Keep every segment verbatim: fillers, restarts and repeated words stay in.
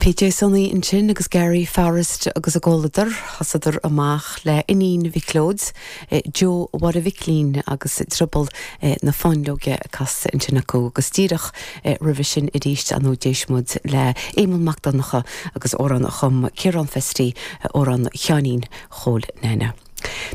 PJ Sonaí ansin agus Gary Forrest agus a gcomhluadar thosaíodar amach le Iníon Mhic Leoid, Joe Mháire Mhicilín agus Drioball na Fáinleoige casta ansin acu agus díreach roimhe sin arís an d'éist muid le Éamonn Mac Donncha agus amhrán a chum Ciarán Festy amhrán Sheáinín Chóil Nene.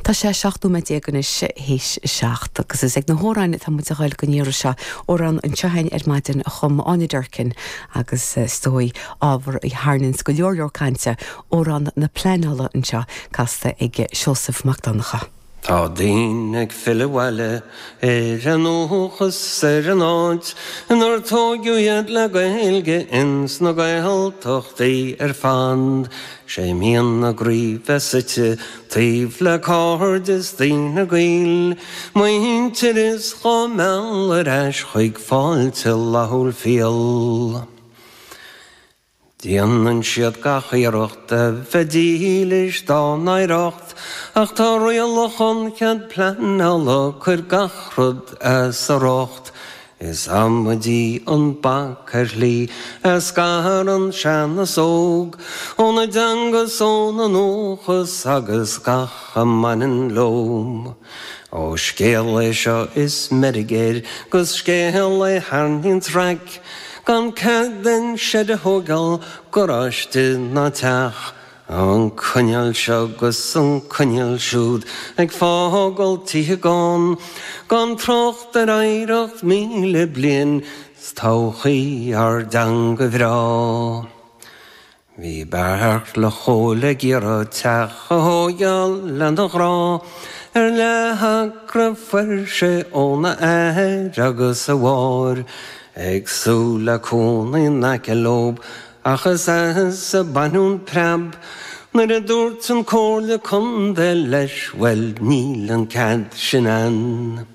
Tá sé seacht nóiméad déag anois théis seacht agus is ag na hamhráin atá muid a ghabháil don iarraidh seo amhrán anseo ar maidin a chum Áine Durkin agus is dóigh ábhar a tharraingíonns go leor leor cainte amhrán na pleanála anseo casta ag Seosamh Mac Donncha. Tá daoine ag filleadh abhaile ar a ndúchas ar an áit inar tógadh iad le Gaeilge ins na Gaeltachtaí ar fad, Sé mian a gcroí bheith suite taobh le cairde is daoine gaoil, Muintir is dhá mealladh ar ais chuig fáilte fhlaithiúil fial. Déanann siad gach iarracht a bheith dílis dá n-oidhreacht, ach tá rialacha an chead pleanála ag cur gach rud as a riocht. Is amaidí an bac ar shlí a scarann sean is óg, óna dteanga 's óna ndúchas agus gach a mbaineann leo. Ó scéal é seo is meirg air, 'gus scéal é tharraingíonns raic, gan cead aon seid a thógáil, garáiste ná teach, An coinníoll seo 'gus an coinníoll siúd ag fágáil tithe gann, gan trácht ar oidhreacht míle bliain 's todhchaí ár dteanga bhreá. Bhí Beartla Chóil ag iarraidh teach a thógáil lena ghrá, ar leathacra fuair sé óna athair agus a mháthair, ag súil le cónaí in aice leo, ach is as a baineadh an preab, nuair a dúirt an Comhairle Contae leis bhuel níl an cead sin ann.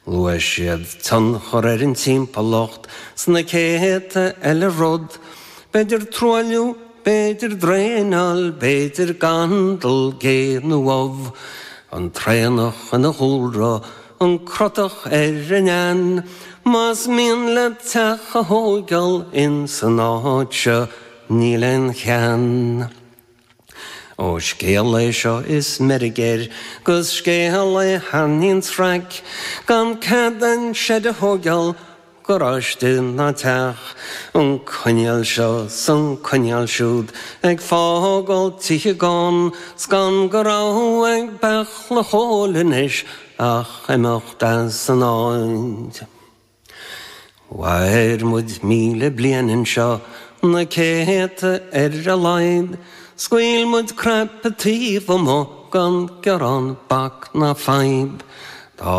Luaigh siad tionchar ar an timpeallacht sna céadta eile rud, B'fhéidir truailliú, b'fhéidir draenáil, b'fhéidir gandal, gé nó ubh, an traonach ina dhúlra, an crotach ar an fheann, Más mian leat teach a thógáil in san áit seo níl aon cheann. Ó scéal é seo is meirg air, 'gus scéal é tharraingíonns raic, gan cead aon seid a thógáil, garáiste ná teach, an coinníoll seo 's an coinníoll siúd ag fágáil tithe gann, 's gan de rogha ag Beartla Chóil anois ach imeacht as an áit. Mhair muid míle bliain anseo na céadta ar a laghad, Scaoil muid cnaipe taobh amuigh gan gearán bac ná fadhb. Tá